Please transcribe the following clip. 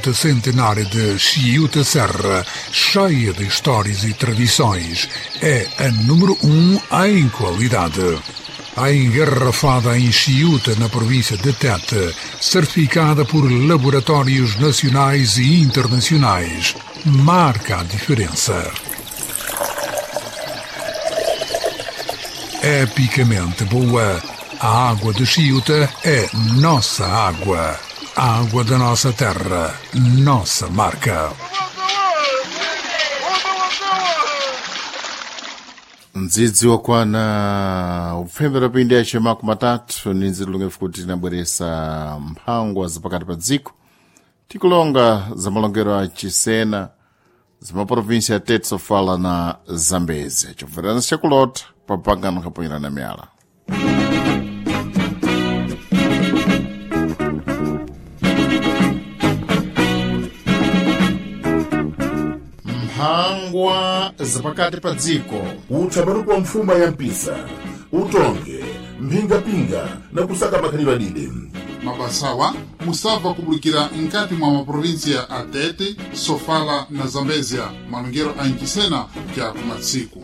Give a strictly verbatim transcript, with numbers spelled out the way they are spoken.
Fonte centenária de Chiuta Serra, cheia de histórias e tradições, é a número um em qualidade. A engarrafada em Chiuta, na província de Tete, certificada por laboratórios nacionais e internacionais, marca a diferença. Epicamente boa, a água de Chiuta é nossa água. A água da nossa terra, nossa marca. Mdzidzi wakwana upfembera pindi yace makumi matatu ni nzilulungefu kuti tinabweresa mphangwa zapakati pa dziko, tikulonga za malongero a Chisena za maprovinsi ya Tete, Sofala na Zambezi, chobverana chakulota pa pangano kaponyerana miyala. Mphangwa zapakati pa dziko. Uthambaruku wa mfuma ya mpisa, utonge mphingapinga na kusaka makhalidwe adide. Mabasawa musabva kubulukira nkati mwa maprovinsiya a Tete, Sofala na Zambezia, malongero a Nchisena ja kumatsiku.